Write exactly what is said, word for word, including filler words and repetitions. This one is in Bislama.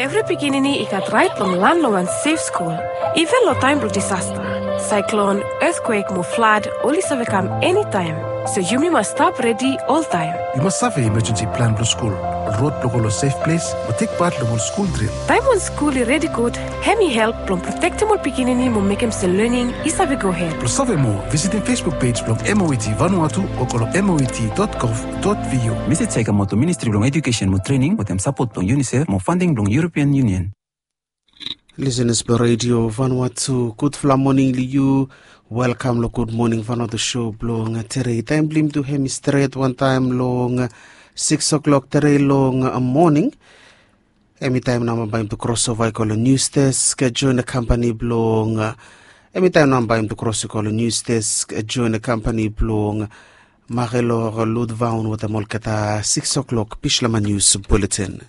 Evri pikinini i gat rait blong lan long wan sef skul. Iven long taem blong disasta, saeklon, etkwek mo flad oli save kam enitaem. So yumi mas stap redi oltaem. Yu mas save imajensi plan blong skul, rod blong go long sef ples, mo tek pat long ol skul dril. Taem wan skul i redi gud, hem i help blong protektem ol pikinini mo mekem se lening i save gohed. Blong save moa, visitim Facebook pej blong M O E T Vanuatu o go long M O E T dot gov dot V U. Mesej ya i kamaot long Ministri blong Ejukesen mo Trening wetem sapot blong UNICEF mo fanding blong European Union. Lisenas blong Redio Vanuatu, gudfala moning long yu. Welkam long Gud Moning Vanuatu sho blong tede. Taem blong yumi tu hem i stret wantaem long sikis o'klok tede long moning. Hem i taem nao bae yumi tu krosova i go long nius desk joen kampani blong, hem i taem nao bae yumi tu kros i go long nius desk joen kampani blong Marilor Ludvaun wetem olgeta sikis o'klok Bislama Nius Buletin.